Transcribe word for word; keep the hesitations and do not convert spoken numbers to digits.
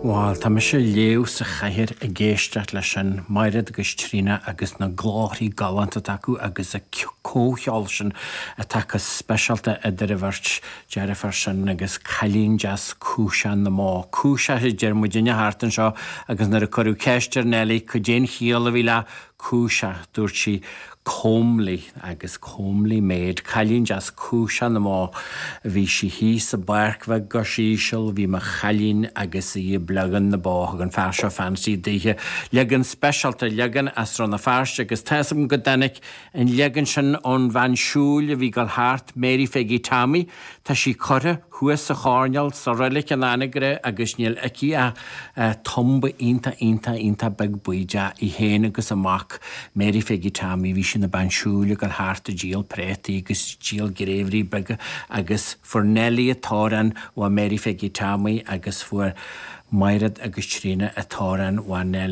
Bhuel, tá mise léamh sa chathaoir ag éisteacht leis sin Mairéad agus Tríona agus na glórthaí galánta atá acu agus an comhcheol sin atá go speisialta idir an bheirt deirfiúr sin agus cailín deas cúiseach na mbó. Cúiseach a deir muidinne thart anseo agus nuair a cuireadh ceist ar Nellie cad é an chiall a bhí le cúiseach dúirt sí comely agus comely maid, cailín deas cúiseach na mbó. Bhí sí thíos i bpáirc bheag go híseal, bhí mo chailín agus í ag bleagan na bó thug an fear seo fancy daoithe. Leagan speisialta leagan as Rann na Feirste agus tá go dtáinig an leagan sin ón bhean siúil a bhí ag gabháil thart Mary Pheigí Tommy, Tá sí curtha thuas sa choirnéal sa reilig in Anagaire agus níl aici ach tumba iontach iontach iontach beag buí í féin agus a mac Mary Pheigí Tommy bhí sí ina bean siúil ag gabháil thart ag díol préataí agus díol gréibhrí beaga agus fuair Nellie an t-amhrán ó Mary Pheigí Tommy agus fuair Mairéad agus Tríona an t-amhrán ó Nellie.